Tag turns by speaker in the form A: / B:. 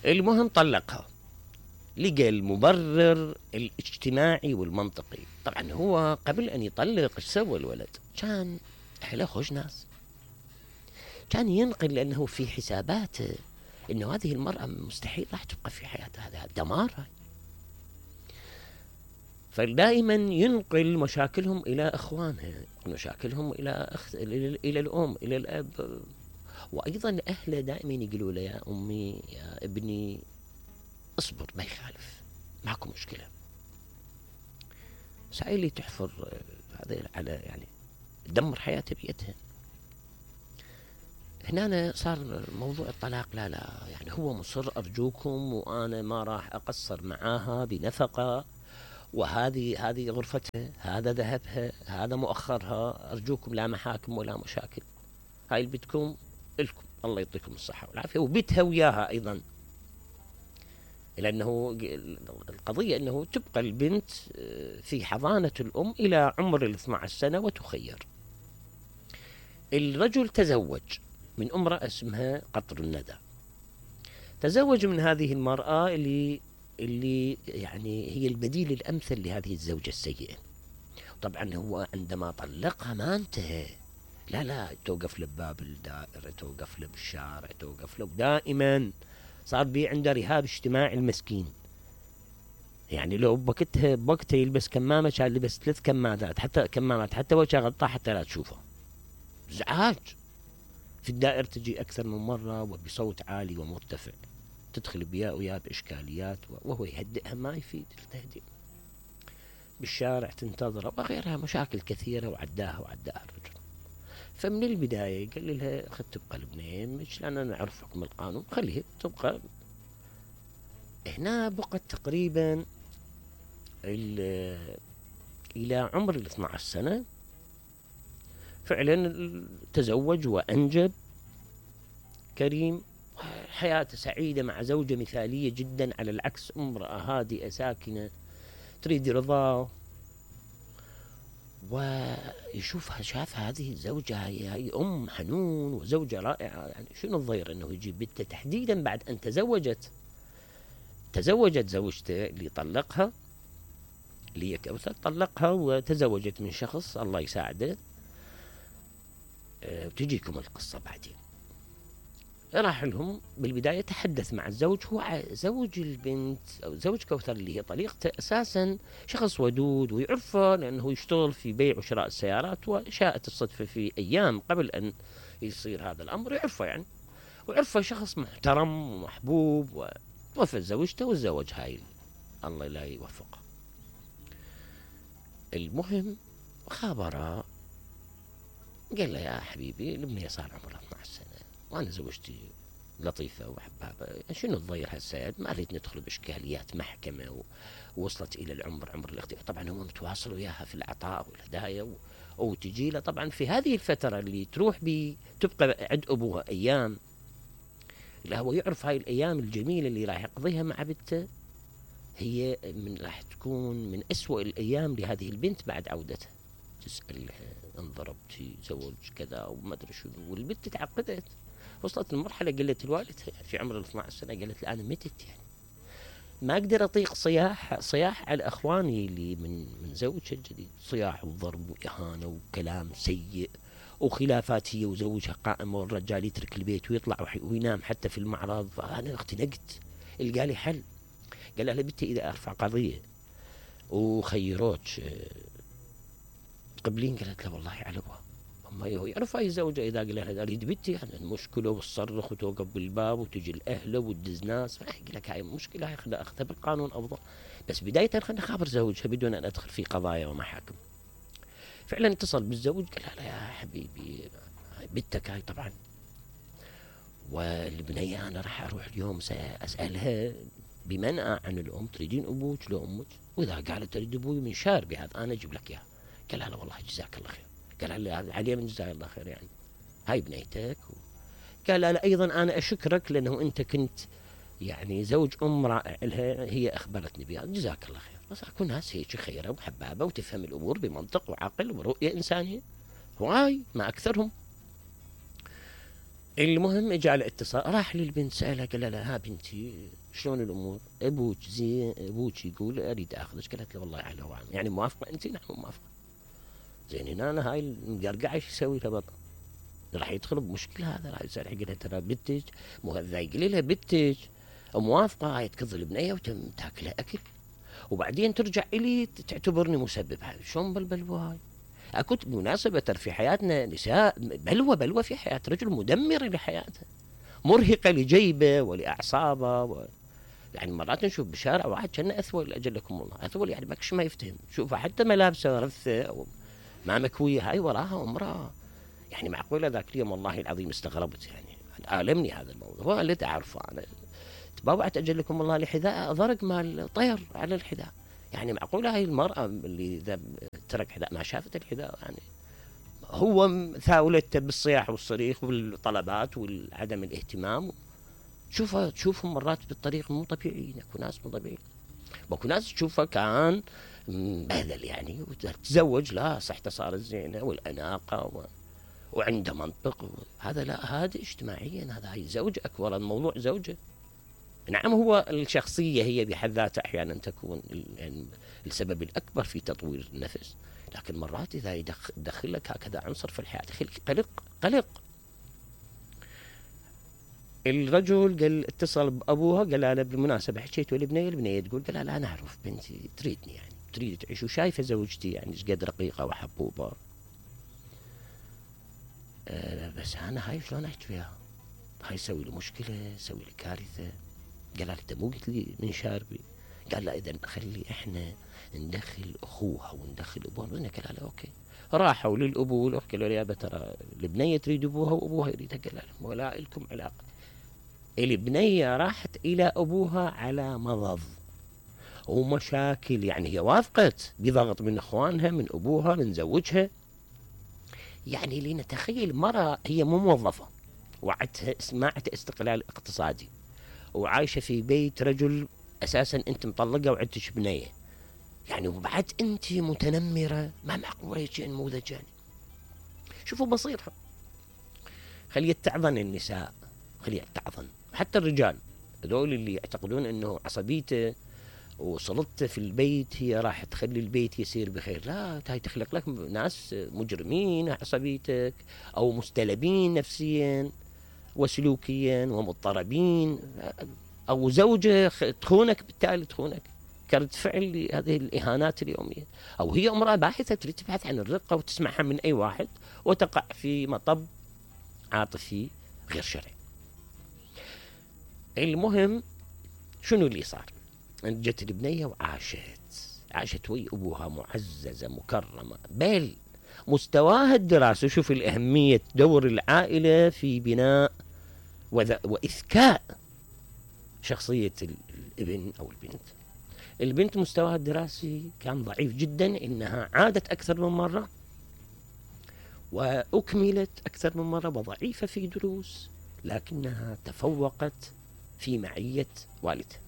A: المهم طلقها، لقى المبرر الاجتماعي والمنطقي. طبعا هو قبل أن يطلق ايش سوى الولد؟ كان أهله خوش ناس، كان ينقل لأنه في حساباته أنه هذه المرأة مستحيل راح تبقى في حياتها، هذا دمار. فدائما ينقل مشاكلهم إلى إخوانها، مشاكلهم إلى الأم، إلى الأب. وأيضا أهله دائما يقولوا له يا أمي يا ابني اصبر، ما يخالف، ماكو مشكلة. سائلي تحفر هذا على يعني تدمر حياته بيتها. هنا صار موضوع الطلاق، لا يعني هو مصر أرجوكم وأنا ما راح أقصر معاها بنفقة، وهذه غرفتها، هذا ذهبها، هذا مؤخرها، أرجوكم لا محاكم ولا مشاكل، هاي اللي بدكم لكم، الله يعطيكم الصحة والعافية. وبيتها وياها أيضا، لأنه القضية أنه تبقى البنت في حضانة الأم إلى عمر 12 سنة وتخير. الرجل تزوج من امرأة اسمها قطر الندى، تزوج من هذه المرأة اللي يعني هي البديل الأمثل لهذه الزوجة السيئة. طبعا هو عندما طلقها ما انتهى، لا توقف له بباب الدائرة، توقف له بالشارع، توقف له دائما، صار بي عنده رهاب اجتماعي المسكين. يعني لو بوقتها يلبس كمامة كان لبس 3 كمامات، حتى كمامات، حتى وجهه غطاه حتى لا تشوفه. ازعاج في الدائرة تجي أكثر من مرة وبصوت عالي ومرتفع، تدخل وياه بإشكاليات، وهو يهدئها ما يفيد التهدئ. بالشارع تنتظره وغيرها، مشاكل كثيرة وعداها الرجل. فمن البداية قال لها خذ تبقى لبنان، مش لأننا نعرف حكم القانون، خليها تبقى هنا. بقت تقريبا إلى عمر 12 سنة فعلا تزوج وأنجب كريم، حياته سعيدة مع زوجة مثالية جدا، على العكس امرأة هادئة ساكنة تريد رضاه. ويشوفها، شاف هذه الزوجة هي أم حنون وزوجة رائعة، يعني شنو الضير أنه يجيب بنته تحديدا بعد أن تزوجت زوجته اللي طلقها، اللي هي كوثر، طلقها وتزوجت من شخص الله يساعده. وتجيكم القصة بعدين. راح لهم بالبداية، تحدث مع الزوج، هو زوج البنت أو زوج كوثر اللي هي طليقته أساسا شخص ودود ويعرفه، لأنه يشتغل في بيع وشراء السيارات، وشاءت الصدفة في أيام قبل أن يصير هذا الأمر يعرفه يعني، وعرفه شخص محترم ومحبوب، ووفى زوجته وتزوج هاي، الله لا يوفقه. المهم خابره، قال له يا حبيبي الابنية صار عمرها 12 سنة وأنا زوجتي لطيفة وحبابة، شنو تضير هالسيد؟ ما أريد ندخل بإشكاليات محكمة، ووصلت إلى عمر الاختيار. طبعا هو متواصل وياها في العطاء والهدايا، وتجي له طبعا في هذه الفترة اللي تروح تبقى عند أبوها أيام، لا هو يعرف هاي الأيام الجميلة اللي راح يقضيها مع بنته، هي راح تكون من أسوأ الأيام لهذه البنت بعد عودتها. تسألها انضربتي، زوج كذا وما ادري شنو، والبنت تعقدت، وصلت لمرحله قالت لوالدها في عمر 12 سنه، قالت له انا متت، يعني ما اقدر اطيق صياح على اخواني اللي من زوجها الجديد، صياح وضرب واهانه وكلام سيء وخلافات هي وزوجها قائمه، والرجال يترك البيت ويطلع وينام حتى في المعرض. فانا اختنقت، القى لي حل، قال لها بنتي اذا ارفع قضيه وخيروك قبلين، قالت له والله على ابوها. اما هو يعرف اي زوجه اذا قال لها اريد بنتي يعني المشكله، وتصرخ وتوقف بالباب وتجي الاهله وتدز ناس، فاحكي لك هاي المشكله، هاي خلينا اخذها بالقانون افضل، بس بدايه خلينا نخابر زوجها بدون ان ادخل في قضايا ومحاكم. فعلا اتصل بالزوج، قال له يا حبيبي بنتك هاي طبعا، والبنيه انا راح اروح اليوم اسالها بمنأى عن الام، تريدين ابوك لو امك؟ واذا قالت تريد ابوي من شار بهذا انا اجيب لك اياها. قال لا والله جزاك الله خير. قال له عليه من جزاك الله خير، يعني هاي بنيتك. قال لا ايضا انا اشكرك لانه انت كنت يعني زوج ام رائع لها، هي اخبرتني بها، جزاك الله خير. بس اكو ناس هيك خيره وحبابه وتفهم الامور بمنطق وعقل ورؤيه انسانيه، وهاي ما اكثرهم. المهم اجى على اتصال، راح للبنت سألها قال لها: ها بنتي شلون الامور؟ ابوك زين؟ ابوك يقول اريد اخذك. قالت له: والله على وعم، يعني موافقه انت؟ نعم موافقه. زين هنا هاي المقرقعه ايش يسوي لها بطل؟ راح يدخل بمشكله هذا، راح يسال يقول لها: ترى بنتك مو هذا، يقول لها بنتك موافقه، هاي تكظ البنيه وتم تاكلها اكل، وبعدين ترجع الي تعتبرني مسبب. هاي شلون بالبلوى هاي؟ اكو مناسبة في حياتنا نساء بلوى في حياة رجل مدمرة لحياته، مرهقة لجيبه ولأعصابه يعني مرات نشوف بالشارع واحد كأنه أثول، أجلكم الله أثول، يعني ماكش ما يفتهم، شوفه حتى ملابسه رثة أو ما مكوية، هاي وراها امرأة. يعني معقولة ذاك اليوم والله العظيم استغربت، يعني آلمني هذا الموضوع. هو اللي تعرفه أنا تبوعت أجلكم الله لحذاء ضرق مال طير على الحذاء. يعني معقولة هاي المرأة اللي إذا ترك حذاء ما شافت الحذاء؟ يعني هو ثاولته بالصياح والصريخ والطلبات وعدم الاهتمام. تشوفهم مرات بالطريق مو طبيعيين، اكو ناس مو طبيعيين، واكو ناس تشوفه كان مبهذل يعني وتزوج، لا صحته صارت زينه والاناقه وعنده منطق هذا لا، هذا اجتماعيا، هذا هي زوجك ورا الموضوع زوجه. نعم هو الشخصيه هي بحد ذاتها احيانا تكون يعني السبب الاكبر في تطوير النفس، لكن مرات اذا يدخل لك هكذا عنصر في الحياه يخليك قلق. الرجل قال اتصل بابوها قال لها: بالمناسبه حكيت والبنيه، البنيه تقول قال لها: لا نعرف بنتي تريدني، يعني تريد تعيش وشايفه زوجتي يعني ايش قد رقيقه وحبوبه. بس انا هاي شلون احكي فيها؟ هاي يسوي لي مشكله، يسوي لي كارثه. قال لها: انت مو قلت لي من شاربي؟ قال لا اذا خلي احنا ندخل اخوها وندخل ابوها. قال لها: اوكي. راحوا للابو والاخ قالوا: يا ترى البنيه تريد ابوها وابوها يريدها. قال لهم: ولا لكم علاقه. البنيه راحت الى ابوها على مضض ومشاكل، يعني هي وافقت بضغط من اخوانها من ابوها من زوجها. يعني لنتخيل مرة هي مو موظفة وعدتها سماعة استقلال اقتصادي وعايشة في بيت رجل اساسا انت مطلقة وعدتش بنية، يعني وبعد انت متنمرة، ما معقول هيك نموذج. يعني شوفوا بسيطة، خلي تعظن النساء، خلي تعظن حتى الرجال هذول اللي يعتقدون انه عصبيته وسلطته في البيت هي راح تخلي البيت يسير بخير. لا، هاي تخلق لك ناس مجرمين عصبيتك او مستلبين نفسيا وسلوكيا ومضطربين، او زوجة تخونك، بالتالي تخونك كرد فعل لهذه الاهانات اليوميه، او هي امراه باحثه تريد تبحث عن الرقه وتسمعها من اي واحد وتقع في مطب عاطفي غير شرعي. المهم شنو اللي صار؟ جت البنيه وعاشت ويا ابوها معززه مكرمه، بل مستواها الدراسي. شوف الأهمية دور العائلة في بناء وإذكاء شخصية الابن أو البنت. البنت مستواها الدراسي كان ضعيف جدا، إنها عادت أكثر من مرة وأكملت أكثر من مرة وضعيفة في دروس، لكنها تفوقت في معية والدها.